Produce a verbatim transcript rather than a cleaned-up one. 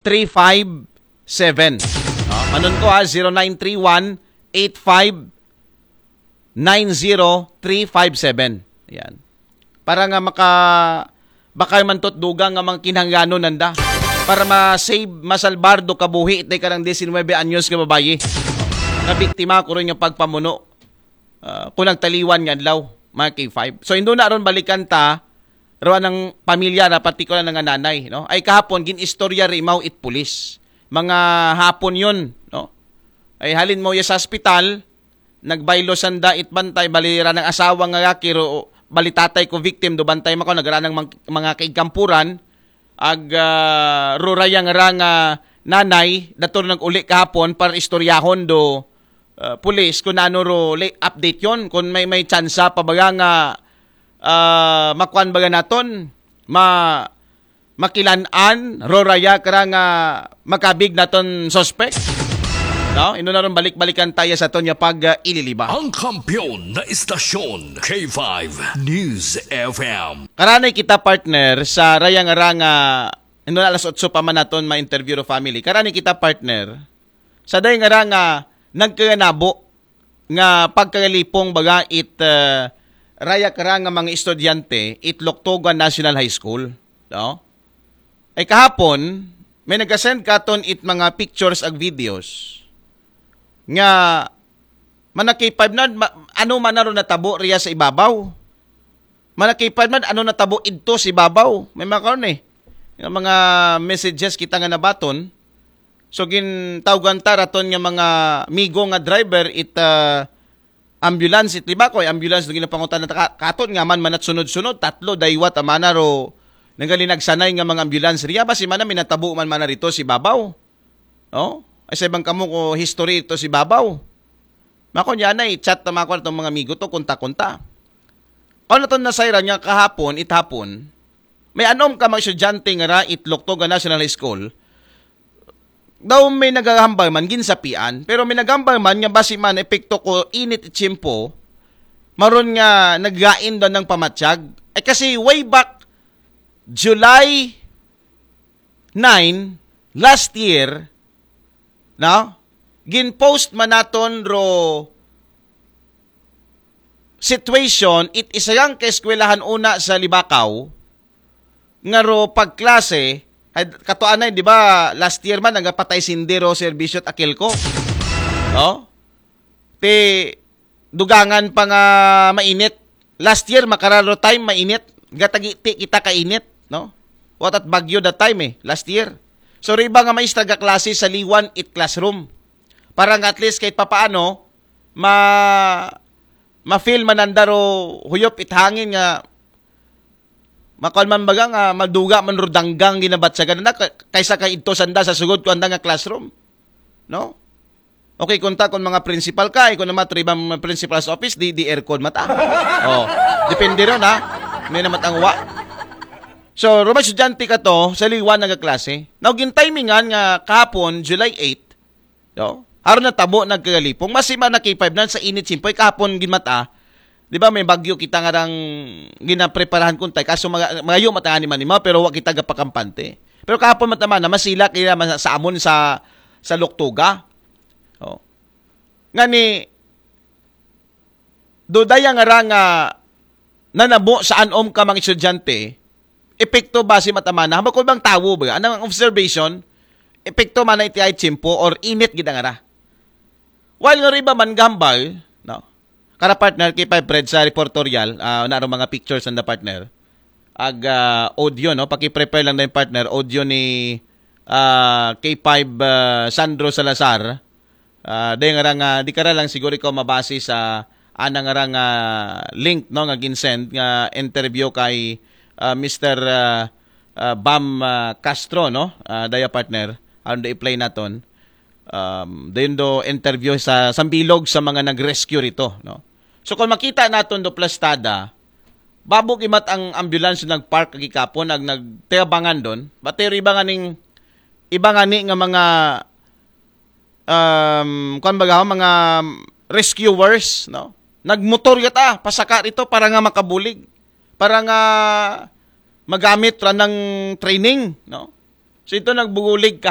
three five seven. No? Manunto ha, zero nine three one eight five nine zero three five seven. Yan. Para nga maka bakay man to't dugang nga mga kinahanglanon nanda. Para ma-save, masalbar do kabuhi itay karang diecinuebe anyos nga babayi. Nga biktima ko rin yung pagpamuno. Ah, kung nagtaliwan nga adlaw, mga K five. So, indo na ron balikan ta, ro anang pamilya ra, partikular na nga nanay, no? Ay kahapon, gin-istorya ri imaw it pulis. Mga hapon yun, no? Ay halin mo ya sa ospital, nagbaylo sanda it bantay, bali ra ng asawa nga lalaki, ro, bali tatay ko victim, do bantay mako, nagra ng mang-, mga kaigkampuran, ag, ah, rurayang ra nga nanay, dator nag-uli kahapon para istoryahon do, ah, pulis kung ano ro li-, update yon, kung may, may tsansa pa baga nga, ah, makuan baga naton, ma-, makilan-an, roraya kara nga makabig naton suspect. No? Ino na ron balik-balikan tayo sa ton nga pag, ah, ililiba. Ang kampiyon na istasyon, K five News F M. Karanay kita, partner, sa raya nga ra nga, ino na alas otso pa man naton ma-interview ro family. Karanay kita, partner, sa day nga ra nga nagkaganabo nga pagkagalipong baga it, ah, raya kara nga mga estudyante it Loktoga National High School. No? Ay kahapon, may nagasend katon it mga pictures ag videos nga manakipad na, ma-, ano man na ro natabo riya sa ibabaw. Manakipad man, ano natabo idto sa ibabaw. May mga karon eh. Nga mga messages kita nga nabaton. So, gintawgan ta raton nga mga migo nga driver it, ah, ambulance it liba ko, ambulance do ginapangutan na ka-, katon nga man manat sunod-sunod, tatlo, daywat, amana ro, nagalinagsanay nga mga ambulance. Riya ba si mana minatabo man mana rito si babaw? No? Ay sa ibang kamo ko history ito si babaw. Mako niya na i-chat na mako itong mga migo to, kunta-kunta. Kung naton nasayran nga kahapon, it hapon, may anom ka mga estudyante nga ra it Loktoga National High School, daw may nagahambal man, ginsapian, pero may nagahambal man nga basi man epekto ko init it tiyempo, maron nga naggain daw ng pamatyag. Eh, kasi way back July nine, last year, no? Gin-post man naton ro situation it isa yang kaeskwelahan una sa Libakaw nga ro pagklase, ay, katuanay, di ba, last year man, nagapatay sindi ro serbisyo at akil ko. No? Ti, dugangan pa nga mainit. Last year, makararo time, mainit. Gatagiti kita kainit, no? What at bagyo that time eh, last year. So, riba nga maestra ga klase sa liwan it classroom. Para nga at least kahit papaano, ma ma-feel mananda ro huyop it hangin nga makuan man baga nga maduga man ro danggang ginabatsagan na ka-, kaysa kay ito sanda sa sugod ko anda nga classroom. No? Okay, kunta kung mga principal ka, eh, kung naman ro ibang principal's office, di, di aircon mata. Oh, depende ron ha. May naman ang wa. So, rumay estudyante ka to, sa liwan nagaklase. Now, gintimingan nga kahapon, July eight, no? Haron na tabo nagkagalipong. Mas iba na K five nan sa init simpoy kahapon ginmata. Di ba may bagyo kita nga rang ginapreparahan kuntay. Kaso mga, magayo matangani man ima, pero wa kita gapakampante. Pero kahapon mataman na masila kaya man sa amon sa sa Loktoga. Oh. Ngani, dodaya nga ra nga nanabo sa anom ka mga estudyante, epekto ba si matamana? Hambal ko bang tawo ba? Anang observation, epekto man na iti ay tiyempo or init gid ang ara. While nga riba man gambal, no? Kara partner, kay Five Fred sa reportorial, ah, na mga pictures and the partner. Ag ah, audio, no? Paki-prepare lang na yung partner, audio ni ah, K five ah, Sandro Salazar. Ah, dahil nga nga, di ka ra lang siguro ikaw mabase sa anang nga nga link, no, nga ginsend nga interview kay ah, Mister ah, ah, Bam ah, Castro, no? Ah, daya partner, ano da i-play naton? Um, dayon do interview sa sambilog sa mga nag-rescue rito, no? So kung makita naton do plastada, babo gimat ang ambulance nag-park kagikapon, nag nagtayabangan don. Batero iba nga ning, iba nga ni nga mga um, kuan baga, mga rescuers, no? Nagmotor yata, pasaka rito para nga makabulig, para nga magamit ra ng training, no? So ito nagbugulig ka